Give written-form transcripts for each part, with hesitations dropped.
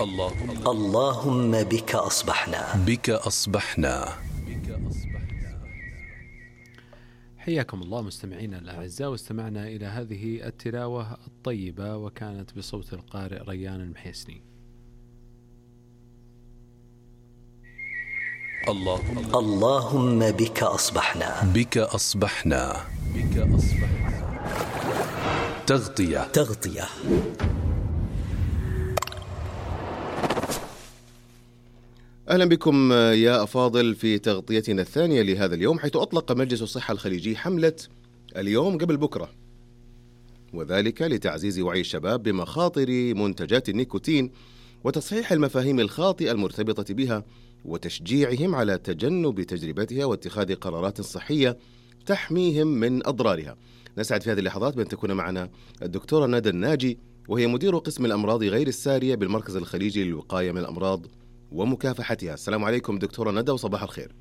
اللهم بك أصبحنا. حياكم الله مستمعينا الأعزاء، واستمعنا إلى هذه التلاوة الطيبة وكانت بصوت القارئ ريان المحيسني. اللهم بك أصبحنا. تغطية. أهلا بكم يا أفاضل في تغطيتنا الثانية لهذا اليوم، حيث أطلق مجلس الصحة الخليجي حملة اليوم قبل بكرة، وذلك لتعزيز وعي الشباب بمخاطر منتجات النيكوتين وتصحيح المفاهيم الخاطئة المرتبطة بها وتشجيعهم على تجنب تجربتها واتخاذ قرارات صحية تحميهم من أضرارها. نسعد في هذه اللحظات بأن تكون معنا الدكتورة ندى الناجي، وهي مدير قسم الأمراض غير السارية بالمركز الخليجي للوقاية من الأمراض ومكافحتها. السلام عليكم دكتورة ندى وصباح الخير.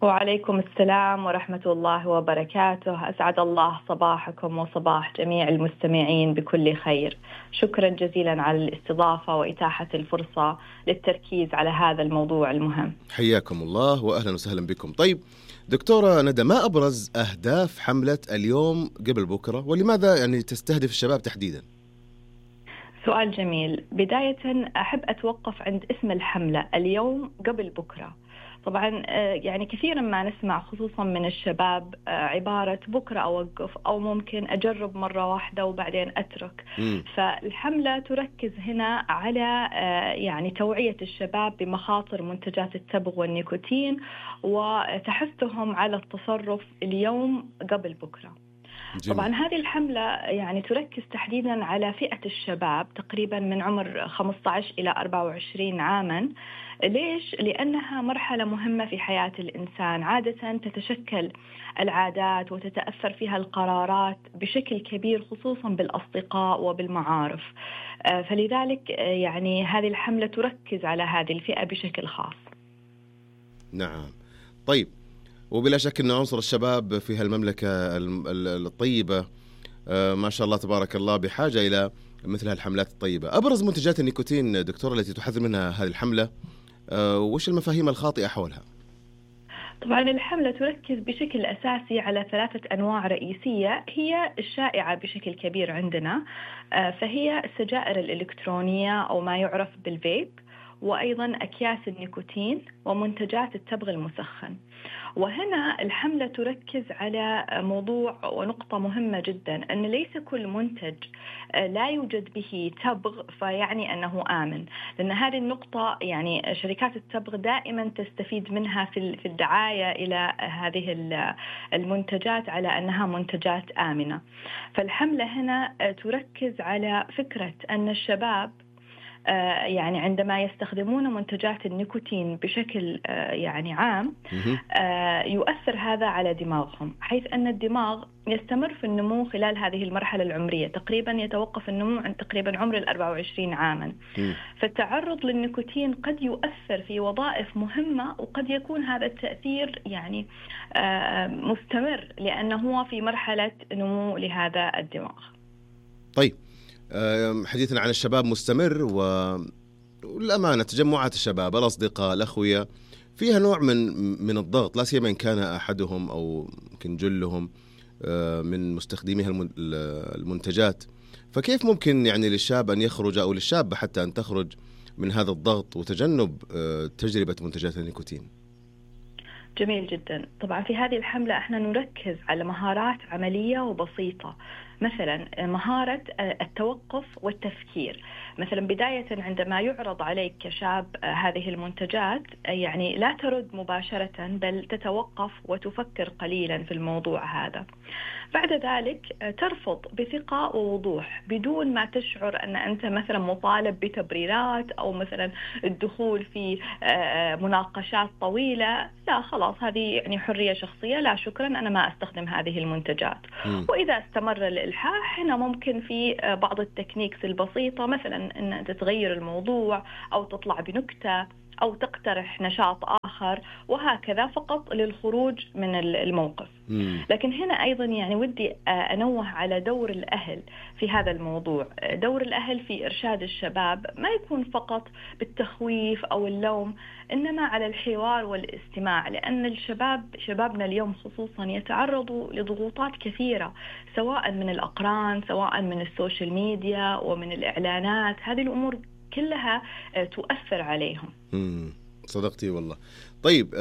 وعليكم السلام ورحمة الله وبركاته. أسعد الله صباحكم وصباح جميع المستمعين بكل خير. شكرا جزيلا على الاستضافة وإتاحة الفرصة للتركيز على هذا الموضوع المهم. حياكم الله وأهلا وسهلا بكم. طيب دكتورة ندى، ما أبرز أهداف حملة اليوم قبل بكرة، ولماذا تستهدف الشباب تحديدا؟ سؤال جميل. بداية أحب أتوقف عند اسم الحملة اليوم قبل بكرة. طبعا كثيرا ما نسمع خصوصا من الشباب عبارة بكرة أوقف، أو ممكن أجرب مرة واحدة وبعدين أترك. فالحملة تركز هنا على توعية الشباب بمخاطر منتجات التبغ والنيكوتين وتحثهم على التصرف اليوم قبل بكرة. جميل. طبعا هذه الحملة تركز تحديدا على فئة الشباب تقريبا من عمر 15 إلى 24 عاما. ليش؟ لأنها مرحلة مهمة في حياة الإنسان. عادة تتشكل العادات وتتأثر فيها القرارات بشكل كبير، خصوصا بالأصدقاء وبالمعارف. فلذلك هذه الحملة تركز على هذه الفئة بشكل خاص. نعم. طيب، وبلا شك أن عنصر الشباب في هالمملكة الطيبة ما شاء الله تبارك الله بحاجة إلى مثل هالحملات الطيبة. أبرز منتجات النيكوتين دكتورة التي تحذر منها هذه الحملة، وش المفاهيم الخاطئة حولها؟ طبعا الحملة تركز بشكل أساسي على 3 أنواع رئيسية هي الشائعة بشكل كبير عندنا، فهي السجائر الإلكترونية أو ما يعرف بالفيب، وأيضا أكياس النيكوتين ومنتجات التبغ المسخن. وهنا الحملة تركز على موضوع ونقطة مهمة جدا، أن ليس كل منتج لا يوجد به تبغ فيعني أنه آمن، لأن هذه النقطة شركات التبغ دائما تستفيد منها في الدعاية إلى هذه المنتجات على أنها منتجات آمنة. فالحملة هنا تركز على فكرة أن الشباب عندما يستخدمون منتجات النيكوتين بشكل عام يؤثر هذا على دماغهم، حيث أن الدماغ يستمر في النمو خلال هذه المرحلة العمرية. تقريبا يتوقف النمو عند تقريبا عمر 24 عاما. فالتعرض للنيكوتين قد يؤثر في وظائف مهمة، وقد يكون هذا التأثير مستمر لأنه هو في مرحلة نمو لهذا الدماغ. طيب، حديثنا عن الشباب مستمر، والأمانة تجمعات الشباب الأصدقاء الأخوية فيها نوع من الضغط، لا سيما إن كان أحدهم أو يمكن جلهم من مستخدميها المنتجات. فكيف ممكن للشاب أن يخرج، أو للشاب حتى أن تخرج من هذا الضغط وتجنب تجربة منتجات النيكوتين؟ جميل جدا. طبعا في هذه الحملة احنا نركز على مهارات عملية وبسيطة، مثلا مهارة التوقف والتفكير. مثلا بداية عندما يعرض عليك كشاب هذه المنتجات لا ترد مباشرة، بل تتوقف وتفكر قليلا في الموضوع هذا. بعد ذلك ترفض بثقة ووضوح بدون ما تشعر أن أنت مثلا مطالب بتبريرات أو مثلا الدخول في مناقشات طويلة. لا، خلاص هذه حرية شخصية، لا شكرا أنا ما أستخدم هذه المنتجات. وإذا استمر الإلحاح هنا ممكن في بعض التكنيكس البسيطة، مثلا أن تتغير الموضوع أو تطلع بنكتة أو تقترح نشاط آخر آخر، وهكذا فقط للخروج من الموقف. لكن هنا أيضا يعني ودي أنوه على دور الأهل في هذا الموضوع. دور الأهل في إرشاد الشباب ما يكون فقط بالتخويف أو اللوم، إنما على الحوار والاستماع، لأن شبابنا اليوم خصوصا يتعرضوا لضغوطات كثيرة، سواء من الأقران، سواء من السوشيال ميديا ومن الإعلانات. هذه الأمور كلها تؤثر عليهم. صدقتي والله. طيب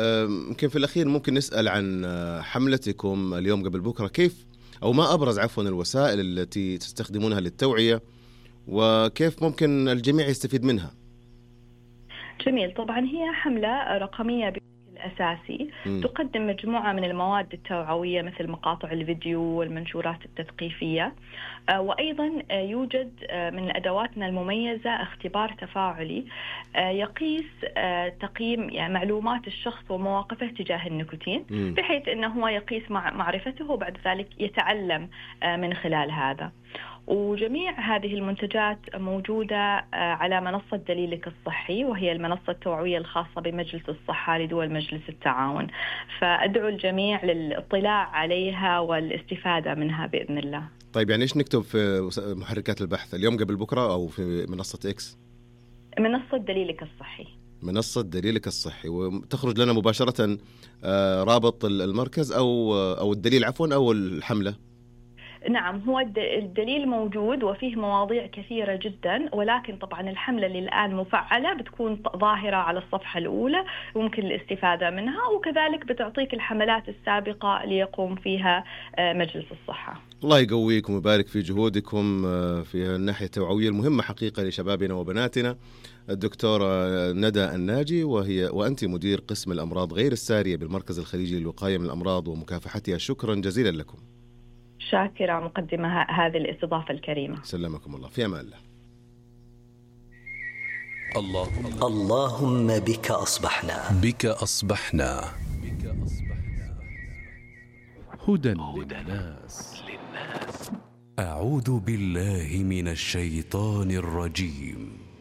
يمكن في الأخير ممكن نسأل عن حملتكم اليوم قبل بكرة، كيف أو ما أبرز عفوا الوسائل التي تستخدمونها للتوعية، وكيف ممكن الجميع يستفيد منها؟ جميل. طبعا هي حملة رقمية بشكل أساسي، تقدم مجموعة من المواد التوعوية مثل مقاطع الفيديو والمنشورات التثقيفية، وأيضا يوجد من أدواتنا المميزة اختبار تفاعلي يقيس تقييم يعني معلومات الشخص ومواقفه تجاه النيكوتين، بحيث أنه هو يقيس معرفته وبعد ذلك يتعلم من خلال هذا. وجميع هذه المنتجات موجودة على منصة دليلك الصحي، وهي المنصة التوعوية الخاصة بمجلس الصحة لدول مجلس التعاون، فأدعو الجميع للاطلاع عليها والاستفادة منها بإذن الله. طيب يعني إيش نكتب في محركات البحث اليوم قبل بكرة أو في منصة إكس؟ منصة دليلك الصحي. منصة دليلك الصحي، وتخرج لنا مباشرة رابط المركز أو الدليل عفوا أو الحملة؟ نعم، هو الدليل موجود وفيه مواضيع كثيرة جدا، ولكن طبعا الحملة اللي الآن مفعلة بتكون ظاهرة على الصفحة الأولى وممكن الاستفادة منها، وكذلك بتعطيك الحملات السابقة ليقوم فيها مجلس الصحة. الله يقويكم ويبارك في جهودكم في الناحية التوعوية المهمة حقيقة لشبابنا وبناتنا. الدكتورة ندى الناجي، وأنت مدير قسم الأمراض غير السارية بالمركز الخليجي للوقاية من الأمراض ومكافحتها، شكرا جزيلا لكم. شاكرة مقدمة هذه الاستضافة الكريمة. سلمكم الله، في أمان الله. اللهم بك أصبحنا هدى للناس. أعوذ بالله من الشيطان الرجيم.